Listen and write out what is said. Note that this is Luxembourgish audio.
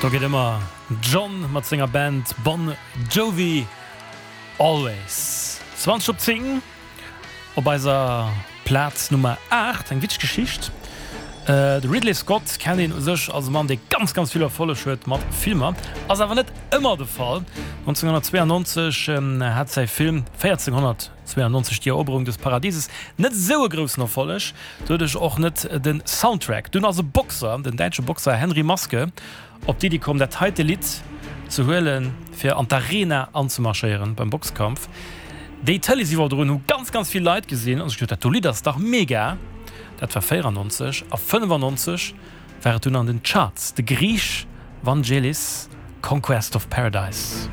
Do geet ëmmer John mat senger Band Bon Jovi Always. 20 op 10 op eiser Plaz Nummer 8. Eng witzeg Geschicht. De Ridley Scott kennt een u sech als e Mann, dee ganz, ganz vill Erfolleg huet mat Filmer. Ass awer net ëmmer de Fall. 1992 hat säi Film 1492, Die Eroberung des Paradieses net esou e groussen Erfolleg, doduerch och net de Soundtrack. Dunn ass e Boxer, den däitsche Boxer Henry Maske, op d'Iddi komm, dat heite Lidd ze huelen, fir an d'Arena anzemarschéieren beim Boxkampf. Déi Tëleesiwwerdroung hu ganz, ganz vill Leit gesinn a sech geduet, dat do Lidd ass dach mega! Dat war 94 a 95 war et dunn an den Charts, de Griich Vangelis, Conquest of Paradise.